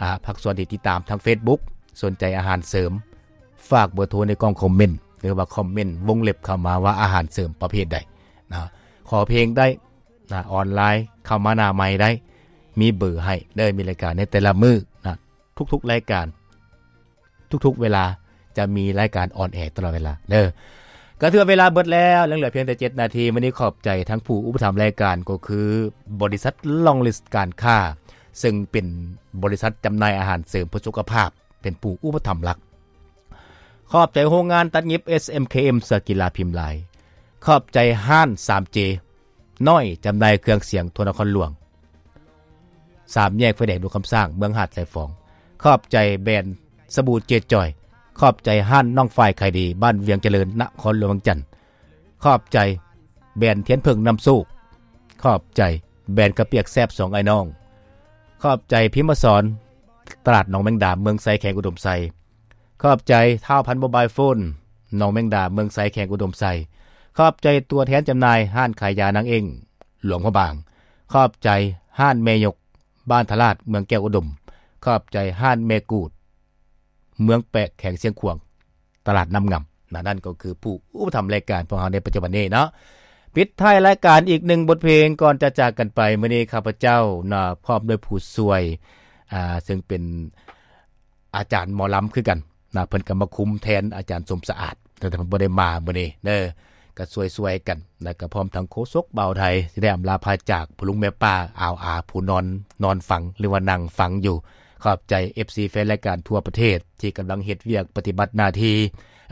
ອ່າ ພາກສ່ວນທີ່ຕິດຕາມທາງ Facebook ສົນໃຈອາຫານເສີມ ຝາກເບີໂທໃນກ່ອງຄອມເມັນ ຫຼືວ່າຄອມເມັນວົງເລັບເຂົ້າມາວ່າອາຫານເສີມປະເພດໃດນະ ຂໍເພງໄດ້ນະ ອອນລາຍເຂົ້າມາໜ້າໃໝ່ໄດ້ ມີເບີໃຫ້ເດີ ມີລາຍການໃນແຕ່ລະມື້ນະ ທຸກໆລາຍການ ທຸກໆເວລາຈະມີລາຍການອອນແອຕະຫຼອດເວລາເດີ. ກໍຖືວ່າເວລາເບິດແລ້ວ ຍັງເຫຼືອພຽງແຕ່ເຈັດນາທີ. ມື້ນີ້ຂອບໃຈທັງຜູ້ອຸປະຖຳລາຍການ ກໍຄືບໍລິສັດ Long List ການຄ້າ ເຊິ່ງເປັນບໍລິສັດຈຳໜ່າຍອາຫານເສີມເພື່ອສຸຂະພາບ ເປັນຜູ້ອຸປະຖຳຫຼັກ. ຂອບໃຈໂຮງງານຕັດຫຍິບ ເອສເອັມເຄເອັມ ເສື້ອກິລາພິມລາຍ. ຂອບໃຈຮ້ານ ສາມເຈ ນ້ອຍ ຈຳໜ່າຍເຄື່ອງສຽງທົ່ວນະຄອນຫຼວງ ສາມແຍກໄຟແດງຫຼວງຄຳສ້າງ ເມືອງຫາດຊາຍຟອງ. ຂອບໃຈແບຣນສະບູເຈຈອຍ. ຂອບໃຈຮ້ານນ້ອງຝ້າຍຂາຍດີ ບ້ານວຽງຈະເລີນ ນະຄອນຫຼວງວຽງຈັນ. ຂອບໃຈແບຣນທຽນເຜິ້ງນ້ຳໂຊກ. ຂອບໃຈແບຣນເຂົ້າປຽກແຊບສອງອ້າຍນ້ອງ. ຂອບໃຈພິມມະສອນ ຕະຫຼາດໜອງແມງດາ ເມືອງໄຊ ແຂວງອຸດົມໄຊ. ຂອບໃຈທ້າວພັນໂມບາຍໂຟນ ໜອງແມງດາ ເມືອງໄຊ ແຂວງອຸດົມໄຊ. ຂອບໃຈຕົວແທນຈຳໜ່າຍຮ້ານຂາຍຢານາງເອັ້ງ ຫຼວງພະບາງ. ຂອບໃຈຮ້ານແມ່ຍົກ ບ້ານທະລາດ ເມືອງແກ້ວອຸດົມ. ຂອບໃຈຮ້ານແມ່ກູດ ເມືອງແປະ ແຂວງຊຽງຂວາງ ຕະຫຼາດນ້ຳງາມນະ. ນັ້ນກໍຄືຜູ້ອຸປະຖຳລາຍການພວກເຮົາໃນປັດຈຸບັນນີ້ເນາະ. ປິດທ້າຍລາຍການອີກໜຶ່ງບົດເພງກ່ອນຈະຈາກກັນໄປ. ມື້ນີ້ຂ້າພະເຈົ້ານະ ພ້ອມດ້ວຍຜູ້ຊ່ວຍ ອ່າ ເຊິ່ງເປັນ ອາຈານໝໍລຳຄືກັນນະ ເພິ່ນກໍມາຄຸມແທນອາຈານສົມສະອາດ ແຕ່ເພິ່ນບໍ່ໄດ້ມາມື້ນີ້ເດີ ກໍຊ່ວຍໆກັນ ແລ້ວກໍພ້ອມທັງໂຄສົກບ່າວໄທ ທີ່ໄດ້ອຳລາພາຈາກພໍ່ລຸງແມ່ປ້າອາວອາ ຜູ້ນອນ ນອນຟັງ ຫຼືວ່ານັ່ງຟັງຢູ່. ຂອບໃຈເອັຟຊີແຟນລາຍການທົ່ວປະເທດ ທີ່ກຳລັງເຮັດວຽກປະຕິບັດໜ້າທີ່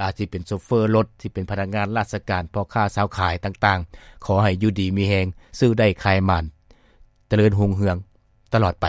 ອາດຊິເປັນໂຊເຟີລົດ ຊິເປັນພະນັກງານລາຊະການ ພໍ່ຄ້າຊາວຂາຍຕ່າງໆ ຂໍໃຫ້ຢູ່ດີມີແຮງ ຊື້ໄດ້ຂາຍໝານ ຈະເລີນຮຸ່ງເຮືອງຕະຫຼອດໄປ.